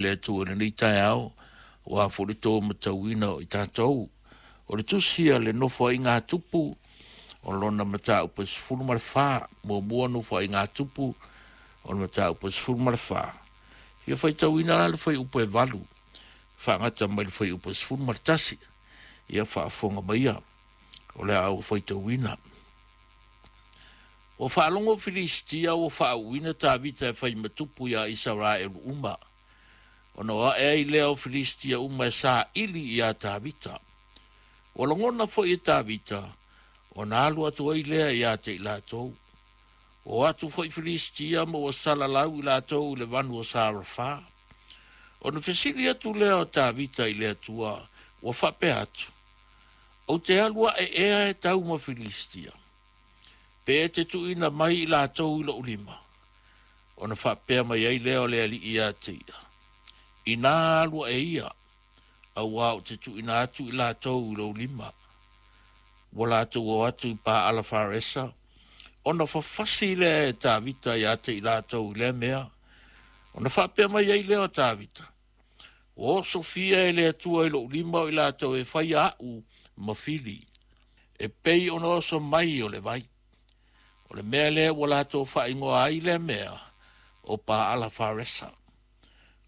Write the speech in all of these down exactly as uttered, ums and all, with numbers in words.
Le Atua i lenei taeao, ua foi le to matauina o i tatou. O le tusi a le Nofoaiga a Tupu, o lona mataupu e sefulu ma le fa, muamua Nofoaiga a Tupu, o le mataupu e sefulu ma le fa. Ia faitauina la le fuaiupu e valu, faagata mai le fuaiupu e sefulu ma le tasi. Ia faafofoga maia, o le a ou faitauina. Ua faalogo Filisitia ua faauuina Tavita e fai ma tupu iā Isaraelu uma, ona o ae ai lea o Filisitia uma e saili iā Tavita. Ua lagona foi e Tavita, ona alu atu ai lea ia te i latou. Ua o atu foi Filisitia ma ua salalau i latou i le vanu o Sarafa. Ona fesili atu lea o Tavita i le Atua, ua faapea atu, Ou te alu ae ea e tau ma Filisitia? Pe e te tuuina mai i latou i lou lima? Ona faapea mai ai lea o le Alii ia te ia, Inā alu ae ia, auā ou te tuuina atu i latou i lou lima. Ua latou o atu i Paala Faresa, ona fafasi lea e Tavita ia te i latou i lea mea. Ona faapea mai ai lea o Tavita, Ua osofia e le Atua i lou lima o i latou e faia a'u ma fili, e pei ona oso mai o le vai. O le mea lea ua latou faaigoa ai lea mea, o Paala Faresa.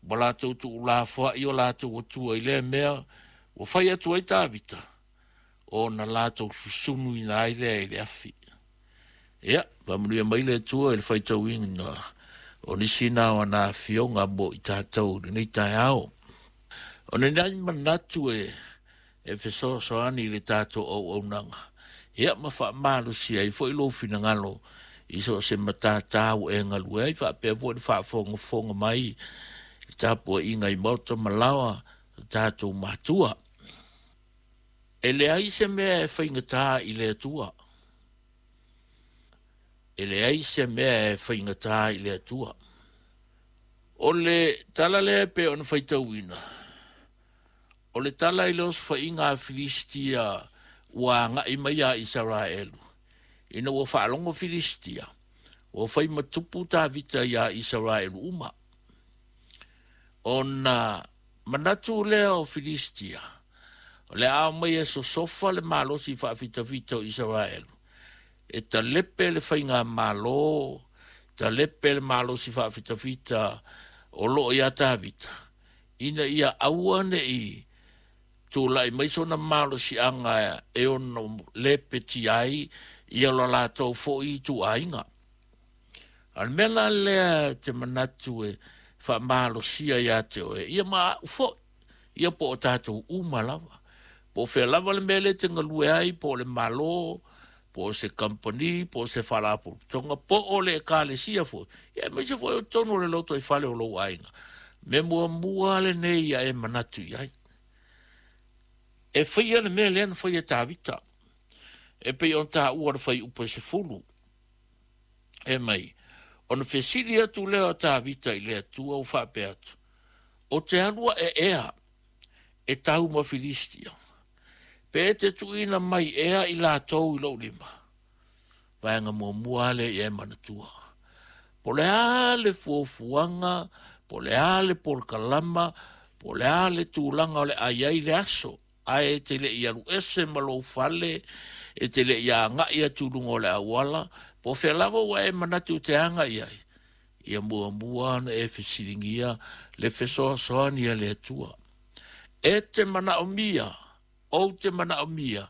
Ua latou tuulafoai o latou atua i lea mea ua fai atu ai Tavita, ona latou susunuina ai lea i le afi. Ia, faamanuia mai le Atua i le faitauina o nisi na o ana afioga mo i tatou i lenei taeao. O nai manatu e e fesoasoani i le tatou auaunaga, ia ma faamalosia ai foi lou finagalo i so o se matata ua e galue ai, faapea foi le faafogafoga mai i le tapuaiga i maota ma laoa o tatou matua. E leai se mea e faigata i le Atua. E leai se mea e faigata i le Atua. O le tala lea e pei ona faitauina, o le tala i le osofaiga a Filisitia ua agai mai iā Isaraelu, ina ua faalogo Filisitia, ua fai ma tupu Tavita iā Isaraelu uma. Ona manatu lea o Filisitia, o le a omai e sosofa le malosi faafitafita o Isaraelu, e talepe le faigamalo, talepe le malosi faafitafita o lo o iā Tavita, ina ia aua ne i tulai mai sona malosiaga e ono lepetia ai ia lo latou foi ituaiga. A o le mea la lea ou te manatu e faamalosia ia te oe, ia ma au foi, ia po o tatou uma lava, po o fea lava le mea lea e te galue ai, po o le Malo, po o se kamupani, po o se faalapotopotoga, po o le Ekalesia foi, ia aemaise foi o totonu o le lotoifale o lou aiga. Mea muamua lenei ia e manatu i ai. E faia le mea lea na faia e Tavita, e pei ona taua le fuaiupu e sefulu. E mai, ona fesili atu lea o Tavita i le Atua ua faapea atu, Ou te alu ae ea e tau ma Filisitia? Pe e te tuuina mai ea i latou i lou lima? Vaega muamua lea ia e manatua. Po o le a le fuafuaga, po o le a le polokalama, po o le a le tulaga o le a i ai le aso, ae e te le i alu ese ma lou fale, e te le i agai atu i luga o le auala, po o fea lava ua e manatu e te agai ai, ia muamua ona e fesiligia le fesoasoani a le Atua. E te manaomia, ou te manaomia,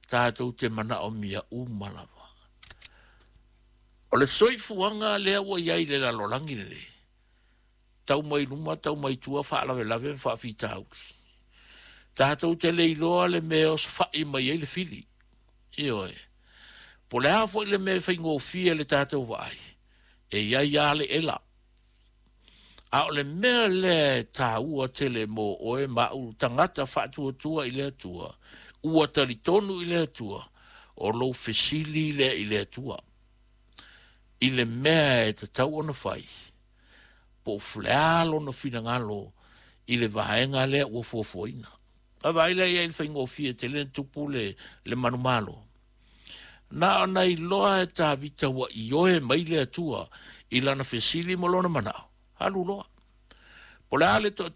tatou te manaomia uma lava. O le soifuaga lea ua i ai i le lalolagi lenei, tau mai luma, tau mai tua, faalavelave ma faafitauli. Tatou te le iloa le mea e osofai mai ai le fili. Ioe. Po o le a foi le mea e faigofie i le tatou vaai, e i ai lava le ela. A o le mea lea e taua tele mo oe ma au tagata faatuatua i le Atua, ua talitonu i le Atua, o lou fesili lea i le Atua i le mea e tatau ona fai, po o le a lona finagalo i le vaega lea ua fuafuaina. Vaavaai lea i ai i le faigofie tele ona tupu le, le manumalo. Na ona iloa e Tavita ua ioe mai le Atua i lana fesili ma lona manao, alu loa. Po o le a le toatele